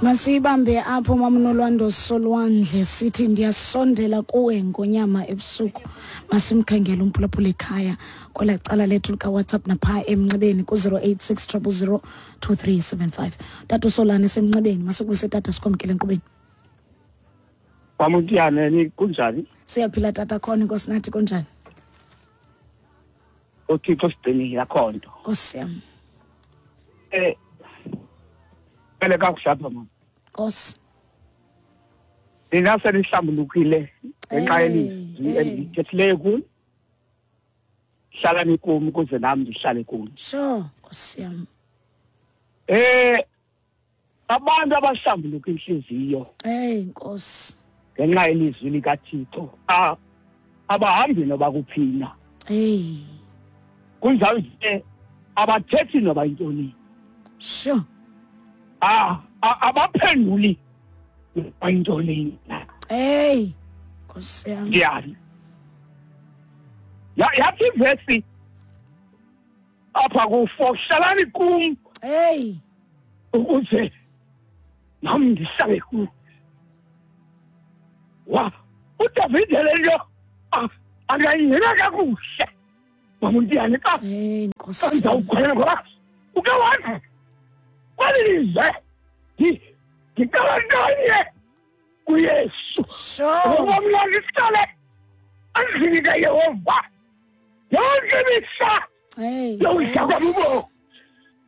Masiyibambe apho mamnolwando solwandle sithi ndiyasondela kuwe ngonyama ebusuku. Masimkhangele umphulaphula ekhaya kwela cala lethu likaWhatsApp napha emnxebeni ku-086 000 2375. Tata uSolane semnxebeni, masikubuse tata sikwamkele enkqubeni. Mamutiyane ni kunjani? Siyaphila tata khona inkosi nathi kunjani? uThixo sigcinile akho nto. Nkosi yam. Eh Phele kakuhle apha mama. Nkosi. Nina senihlambulukile ngenxa yelizwi endilithethileyo kuni. Hlalani kum ukuze nam ndihlale kuni. Sure, Nkosi yam. Eh abantu abahlambuluka inhliziyo. Hey Nkosi. Ngenxa yelizwi likaThixo abahambi noba kuphina. Hey. Kunjalo nje abathethi noba yintoni. Sure. Ah abaphenduli noba yintoni. Hey. Nkosi yam. Ndiyani. Yathi ivesi apha ku-4 hlalani kum. Hey. Ukuze nam ndihlale kum. Wa uDavide le nto angayingena kakuhle. Mamuntiyane xa Hey Nkosi. ndizawukhwela ngoba uke wathi kweli lizwe ndicela ntoni kuYesu. Sure. Ukuba mna ndihlale endlini kaYehova yonke imihla Hey. yokudla kwam ubomi.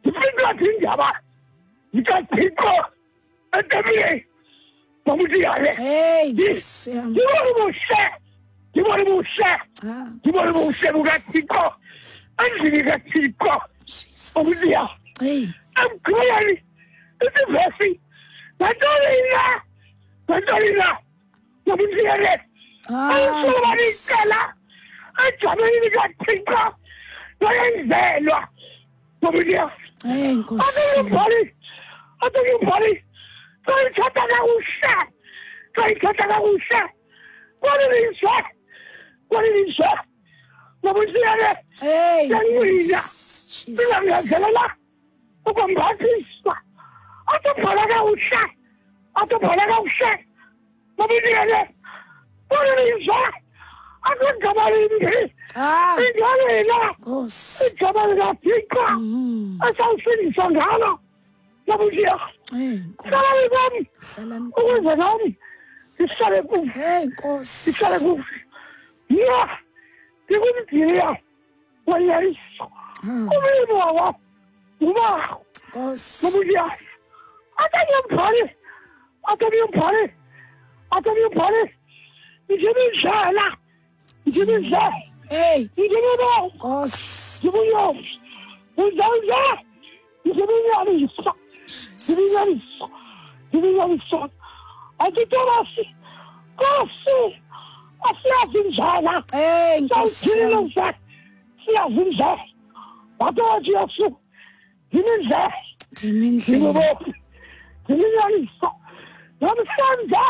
Ndifuna indaba zikaThixo etempileni. Mamutiyane. Hey Nkosi yam. Ndibona ubuhle, ndibona ubuhle, Ah. ndibona ubuhle bukaThixo endlini kaThixo. Jesus. Mamutiyane. Hey. Emgqibelweni isivesi nantoni na nantoni na Mamutiyane. Ah. Ayisuba licala ejameni likaThixo loyenzelwa. Mamutiyane. Hey Nkosi. Athi athi sayithatha kakuhle sayithatha kakuhle kwalilizwe kwalilizwe Mamutiyane. Hey. Yanqina. Jesus. Singangezelela ukwambathiswa atobhala kakuhle atobhala kakuhle Mamutiyane kwalilizwe akugama limbi Ah. ingalila Nkosi. igama likaThixo esawusindiswa ngalo Mamutiyane. Hey Nkosi. Hlalani kwam Hlalani kum. ukuze nam ndihlale kum Hey Nkosi. ndihlale kum. Mna ndingumdiliya wenyaniso umlimi wawo ngubawo Nkosi. Mamutiyane. Atamyombhali atamyombhali atamyombhali ndimindlela ndimindlela Hey ndimibo Nkosi. ndibunyosi uzawuze ndiminyaniso ndiminyaniso ndiminyaniso anditobasi Nkosi asiyazi indlela Hey Nkosi. sawuthile nje siyazi indlela wathi wathi Yesu ndimindlela Ndimindlela. ndimibomi ndiminyaniso namhlanje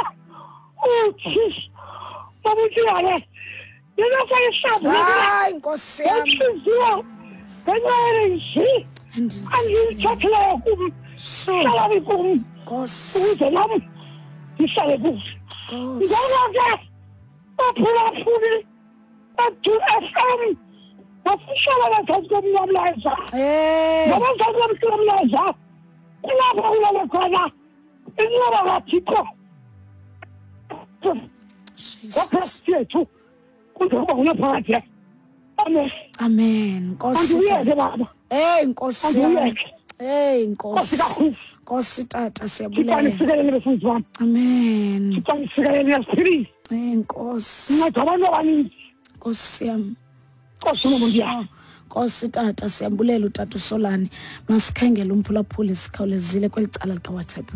uthi Mamutiyane ndinasayihlambulukile Hayi Nkosi yam. ngentliziyo ngenxa yelizwi andilithathileyo kum Sure. hlalani kum Nkosi. ukuze nam ndihlale kum. Nkosi. Ngoko ke baphulaphuli bedu FM basihlala ngezantsi komnqamlezo. Hey. Ngabazantsi komnqamlezo kulapho kulele khona inqaba kaThixo Jesus. ngoKristu yethu kuze kuba ngunaphakade. Amen. Amen. Nkosi. Andiyeke tata. baba. Hey Nkosi yam. Andiyeke. Hey Nkosi Nkosi. kakhulu. Nkosi tata Thixo siyabulela. anisikelele befundisi bam. Amen. Thixo anisikelele niyasiphilisa. Hey Nkosi. Nceda abantu abaninzi. Nkosi yam. Nkosi noMontiyane. Nkosi tata siyabulela utata uSolani. Masikhangele umphulaphuli sikhawulezile kweli cala likaWhatsApp.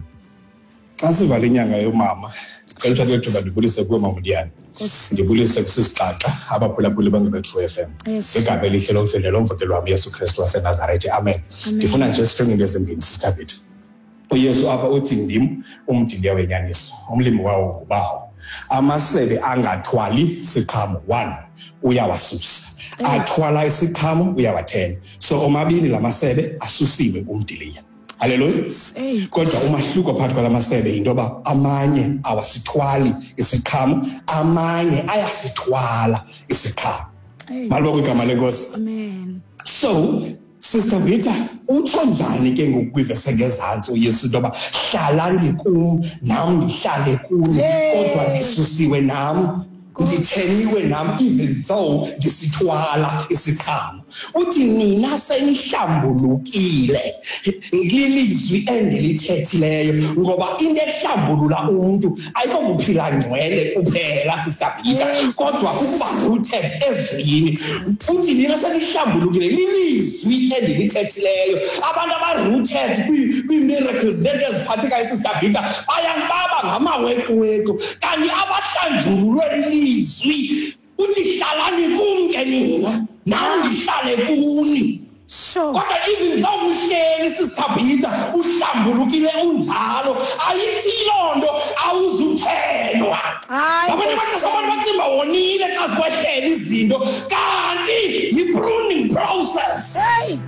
Xa sivala inyanga yomama, ndicela uthathe eli thuba ndibulise kuwe Mamundiyane. Nkosi. Ndibulise kusisiqaqa abaphulaphuli bangebeTrue FM. Yes. Ngegama elihle lomfeli lomvukeli wam Yesu Kristu waseNazaretha. Amen. Ndifuna nje sifenge into ezimbini Sister Bethu. uYesu apha uthi ndim umdiliya wenyaniso, umlimi wawo ngubawo. Amasebe angathwali siqhamo, one, uyawasusa. Athwala isiqhamo uyawathena. So omabini la masebe asusiwe kumdiliya. Haleluya. Kodwa umahluko phakathi kwala masebe yinto yoba amanye awasithwali isiqhamo, amanye ayasithwala isiqhamo. Malibongwe igama lenkosi. Amen. So Sister Vita, utsho njani ke ngoku kwivesi engezantsi uYesu into yoba hlalani kum nam ndihlale kuni, kodwa ndisusiwe nam, nditheniwe nam, even though ndisithwala isiqhamo. Uthi nina senihlambulukile lilizwi endilithethileyo, ngoba into ehlambulula umntu ayikokuphila ngcwele kuphela, Sister Peter, kodwa kukuba rooted ezwini. Uthi nina senihlambulukile lilizwi endilithethileyo. Abantu aba-rooted kwii-miracles neento eziphathekayo, Sister Peter, bayababa ngamawekuweku, kanti abahlanjululwe lilizwi. Uthi hlalani kum ke nina, nam ndihlale kuni. Kodwa even though uhleli, Sister Peter, uhlambulukile unjalo, ayithi loo nto awuzuthenwa. Abanye abantu abantu bacinga wonile xa zikwehlela izinto, kanti yi-pruning process.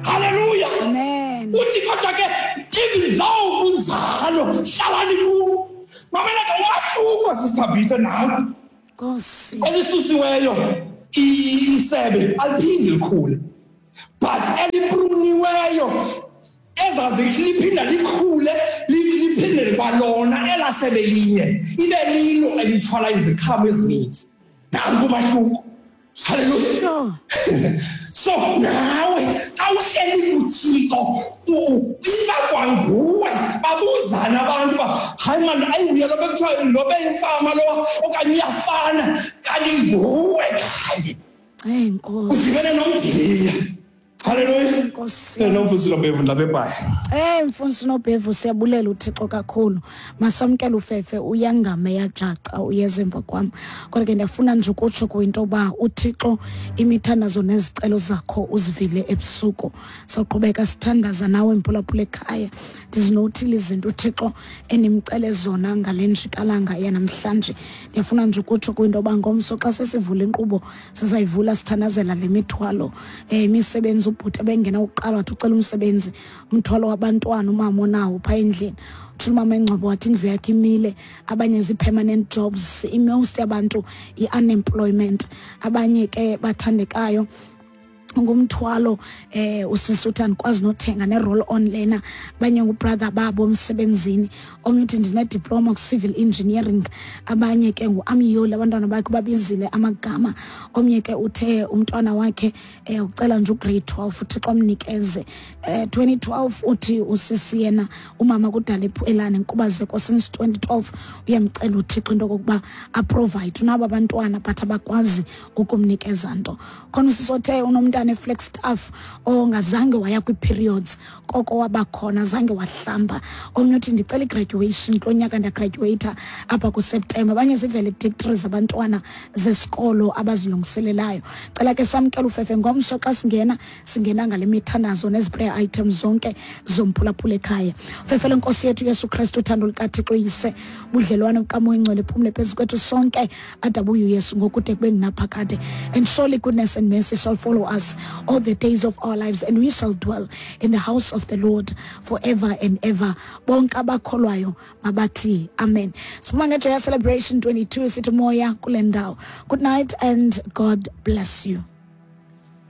Hallelujah. Amen. Uthi kodwa ke even though kunjalo, hlalani kum. Mamela ke umahluko, Sister Peter, nam. Nkosi. Elisusiweyo isebe aliphindi likhule, but elipruniweyo ezazi liphinda likhule, liphinde kwalona elasebe linye ibe lilo elithwala iziqhamo ezininzi. Nanku umahluko. Hallelujah. So nawe awuhleli kuThixo, iba kwanguwe. Babuzana abantu uba hayi mani, ayinguye lo bekuthiwa lo beyimfama lo, okanye uyafana, kanti nguwe kanye. Hey, Nkosi. Udibene nomdiliya. Hallelujah. Nkosi. Nomfundisi Nobhevu ndilapha eBhayi. Mfundisi Nobhevu, siyabulela uThixo kakhulu. Masamkele ufefe, uyangame yajaca uyeza emva kwam. Kodwa ke ndiyafuna nje ukutsho kwinto yoba uThixo imithandazo nezicelo zakho uzivile ebusuku. Sawuqhubeka sithandaza nawe mphulaphula ekhaya. Ndizinothile izinto uThixo enimcele zona ngale njikalanga yanamhlanje. Ndiyafuna nje ukutsho kwinto yoba ngomso xa sesivula inkqubo sizayivula sithandazela le mithwalo. Imisebenzi ubhuti ebengena uqala wathi ucela umsebenzi, umthwalo wabantwana umama onawo phaa endlini. Uthi umama engcobo wathi indlu yakhe imile, abanye zii-permanent jobs, i-most yabantu i-unemployment, abanye ke bathandekayo ngumthwalo. Usisi uthi andikwazi nothenga ne-roll on lena, abanye ngubrother babo emsebenzini, omnye uthi ndine-diploma ku-civil engineering, abanye ke ngu-Amyoli, abantwana bakhe babizile amagama, omnye ke uthe umntwana wakhe ucela nje ugrade 12 uThixo amnikeze. 2012 uthi usisi yena umama kudala elane nkubazeko since 2012, uyamcela uThixo into okokuba aprovide, unabo abantwana but abakwazi ukumnikeza nto. Khona usisi othe unomntana eFlagstaff ongazange waya kwi-periods, koko wabakhona zange wahlamba. Omnye uthi ndicela i-graduation kulo nyaka, ndiyagraduata apha kuSeptemba. Abanye zii-valedictories abantwana zesikolo abazilungiselelayo. Cela ke samkele ufefe ngomso xa singena, singena ngale mithandazo nezi prayer items zonke zomphulaphula ekhaya. Fefe lenkosi yethu Yesu Kristu, uthando lukaThixo Yise, budlelwane bukaMoya Oyingcwele phumle phezu kwethu sonke adabuye uYesu ngokude kube ngunaphakade. And surely goodness and mercy shall follow us all the days of our lives, and we shall dwell in the house of the Lord forever and ever. Bonke abakholwayo mabathi amen. Siphuma ngeJoyous Celebration 22 sithi moya kule ndawo. Good night and God bless you.